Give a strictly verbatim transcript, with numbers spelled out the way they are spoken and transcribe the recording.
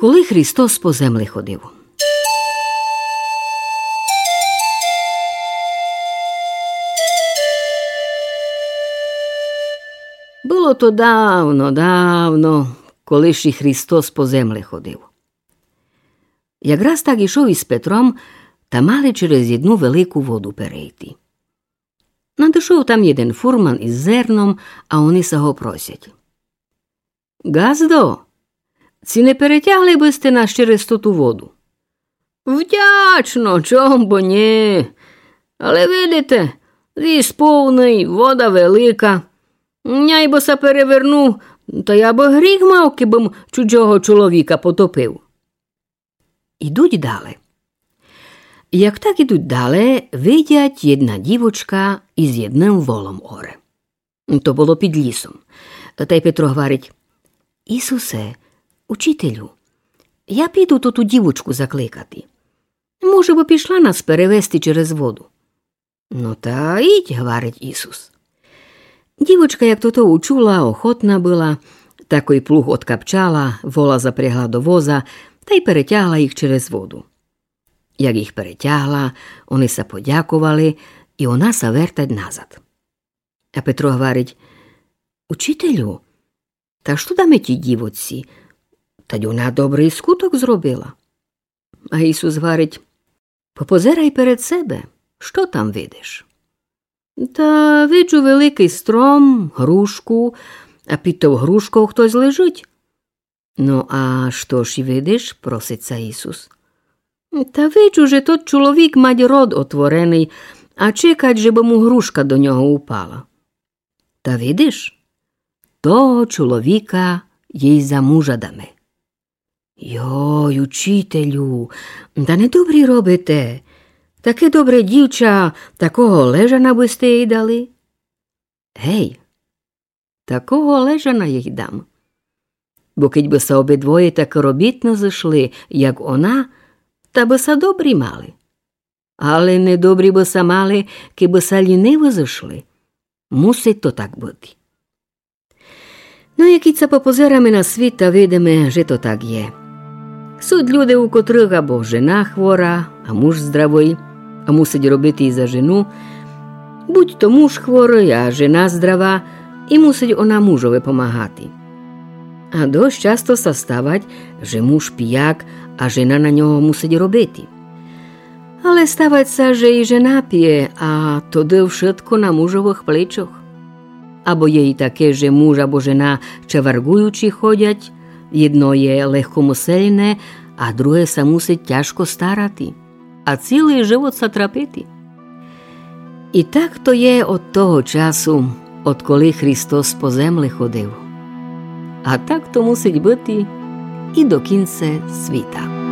Коли Христос по земли ходив. Было то давно, давно, коли ще Христос по земли ходив. Якраз так ішов із Петром, та мали через єдну велику воду перейти. Надышов там єден фурман із зерном, а они ся го просять: «Ґаздо, ци не перетягли бы сьте нас через тоту воду?» «Вдячно, чом бы нї. Але видите, віз повный, вода велика. Няй бы ся перевернув, та я бы гріх мав, кибы м чужого чоловіка потопив». Ідуть дале. Як так ідуть дале, видять, єдна дівочка із єдным волом оре. То было під лісом. Тай Петро гварить: «Ісусе, учителю, я піду тоту дівочку закликати. Може бы пішла нас перевести через воду». «Но та ідь», гварить Ісус. Дівочка, як тото учула, охотна была, такой плуг одкапчала, вола запрягла до воза тай перетягла їх через воду. Як їх перетягла, они ся подяковали, і она ся вертать назад. А Петро гварить: «Учителю, та што даме тій дівочці? Тадь она добрый скуток зробила». А Ісус гварить: «Попозирай перед себе, што там видиш?» «Та виджу великый стром, грушку, а під тов грушков хтось лежить». «Но а што ж видиш?» — просить ся Ісус. «Та виджу, же тот чоловік мать рот отвореный, а чекать, же бы му грушка до нього упала». «Та видиш, того чоловіка їй за мужа даме». «Йой, учителю, та недобрі робите. Таке добре дівча, такого лежана бы сьте їй дали?» «Гей, такого лежана їй дам. Бо кидь бы ся обидвоє так робітно зышли, як она, та бы ся добрі мали. Але недобрі бы ся мали, кибы ся ліниво зышли. Мусить то так быти». Но, як кидь ся попозираме на світ, та видиме, же то так є. Суть люди, у котрых або жена хвора, а муж здравый, а мусить робити і за жену, будь то муж хворый, а жена здрава, і мусить она мужови помагати. А досить часто ся ставать, же муж пияк, а жена на нього мусить робити. Але ставать ся, же і жена пиє, а тогды вшытко на мужовых плечох. Або є і таке, же муж або жена чаварґуючі ходять, єдно є легкомысельне, а другоє ся мусить тяжко старати, а цілый живот ся трапити. І так то є од того часу, одколи Христос по земли ходив. А так то мусить быти і до кінця світа.